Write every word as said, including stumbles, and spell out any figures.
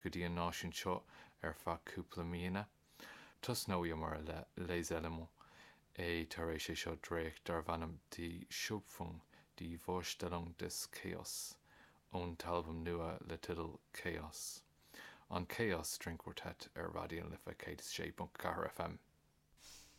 go dtí an náisiún seo ar feadh cúpla míonna. Tosnóidh le Les Elements é tar éis é seo dréacht darb ainm Die Schöpfung die Vorstellung des Chaos ón t-albam nua le teideal Chaos. An Chaos String Quartet ar Raidió na Life céad sé ponc ceathair FM.